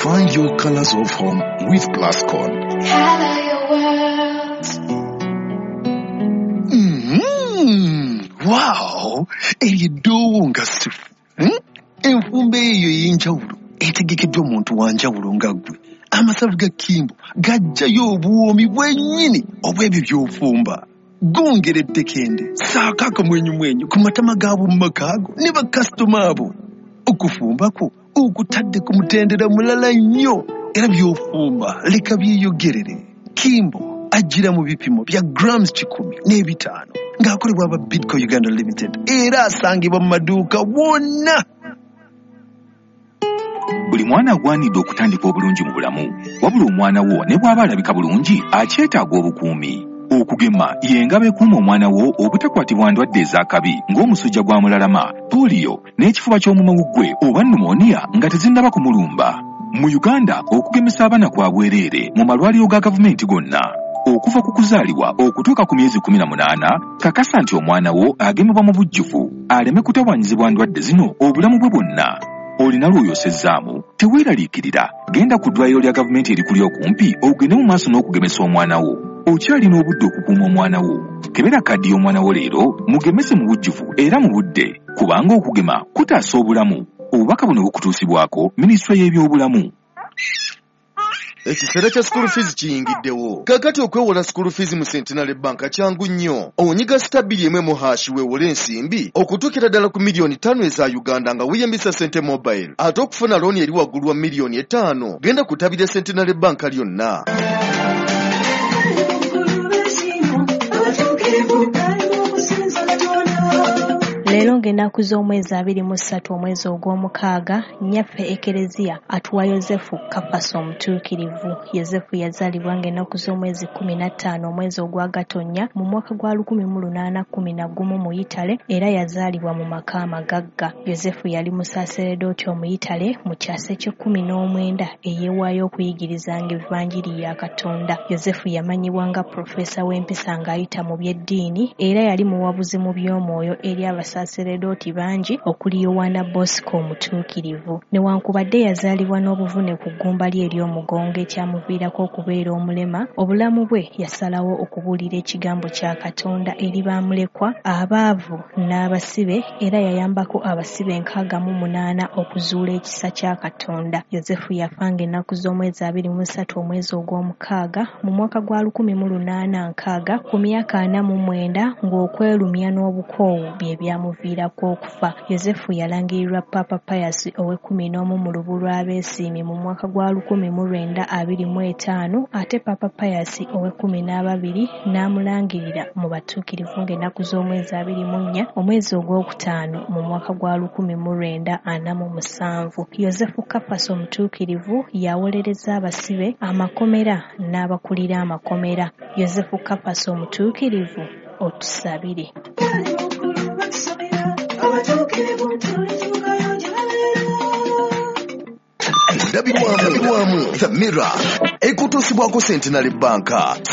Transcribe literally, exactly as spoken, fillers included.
Find your colors of home with Plascon. Color your world. Mm, wow! Eryo eddoowo nga ssufu. Hmm? Enfumba eyo ey'enjawulo etegekeddwa omuntu wa njawulo nga ggwe. Amasavu ga Kimbo gajjayo obuwoomi bwennyini obw'ebyo by'ofumba. Gongera eddekende, ssaako akamwenyumwenyu ku matama g'ab'omu maka go ne bakasitoma abo. Okufumba kwo okutadde ku mutendera mulala nnyo era by'ofumba leka byeyogerere. Kimbo ajjira mu bipimo bya grams kikumi n'ebitaano ng'akolebwa aba Bidco Uganda Limited era asangibwa mu maduuka wonna. Buli mwana agwanidde okutandika obulungi mu bulamu, wabula omwana wo ne bw'aba alabika bulungi akyetaaga obukuumi. Okugema y'engabo ekuuma omwana wo obutakwatibwa ndwadde ez'akabi ng'omusujja gwa mulalama, pooliyo n'ekifuba ky'omumawuggwe oba pneumonia nga tezinnaba kumulumba. Mu Uganda okugemesa abaana kwa bwereere mu malwaliro ga gavumenti gonna. Okuva ku kuzaalibwa okutuuka ku myezi kkumi na munaana, kakasa nti omwana wo agemebwa mu bujjuvu aleme kutawaanyizibwa ndwadde zino obulamu bwe bwonna. Olina lw'oyosezzaamu, teweeraliikirira, genda ku ddwaliro lya gavumenti erikuli okumpi ogende mu maaso n'okugemesa omwana wo. Okyalina obudde okukuuma omwana wo. Kebera kaddi y'omwana wo leero, mugemese mu bujjuvu era mu budde, kubanga okugema kutaasa obulamu. Obubaka buno bukutuusibwako Minisitule y'Ebyobulamu. Ekiseera kya school fees kiyingiddewo. Kaakati okwewola school fees mu Centenary Bank kyangu nnyo. Onyiga star bbiri emu emu hash weewole ensimbi okutuukira ddala ku miliyoni ttaano eza Uganda nga weeyambisa Sente Mobile. Ate okufuna looni eri waggulu wa miliyoni etaano, genda ku ttabi lya Centenary Bank lyonna. Leero ng'ennaku z'omwezi abiri mu ssatu omwezi ogw'omukaaga, nnyaffe Ekereziya atuwa Yozefu Kafasi omutuukirivu. Yozefu yazaalibwa ng'ennaku z'omwezi kkumi na ttaano omwezi ogwa Gatonnya mu mwaka gwa lukumi mu lunaana kkumi na gumu mu Yitale era yazaalibwa mu maka amagagga. Yozefu yali musaaseredooti Omuyitale mu kyasa eky'ekkumi n'omwenda eyeewaayo okuyigirizanga Evanjiri ya Katonda. Yozefu yamanyibwa nga pulofeesa w'empisa ng'ayita mu by'eddiini era yali muwabuzi mu by'omwoyo eri abasaseredooti bangi okuli Yowaana Bosco omutuukirivu. Newankubadde yazaalibwa n'obuvune ku ggumba lye ery'omugongo ekyamuviirako okubeera omulema, obulamu bwe yasalawo okubuulira ekigambo kya Katonda eri bamulekwa, abaavu n'abasibe era yayambako abasibe enkaaga mu munaana okuzuula ekisa kya Katonda. Yozefu yafa ng'ennaku z'omwezi abiri mu ssatu omwezi ogw'omukaaga mu mwaka gwa lukumi mu lunaana nkaaga ku myaka ana mu mwenda ng'okwerumya n'obukoowu bye byamuviirako okufa. Yozefu yalangirirwa Papa Pius ow'ekkumi n'omu mu lubu lw'abeesiimi mu mwaka gwa lukumi mu lwenda abiri mu etaano ate Papa Pius ow'ekkumi n'ababiri n'amulangirira mu batuukirivu ng'ennaku z'omwezi abiri mu nnya omwezi ogwokutaano mu mwaka gwa lukumi mu lwenda ana mu musanvu. Yozefu Kafasi omutuukirivu yawolereza abasibe amakomera n'abakulira amakomera. Yozefu Kafasi omutuukirivu otusabire. Endabirwamu The Mirror ekutuusibwako Centenary Bank.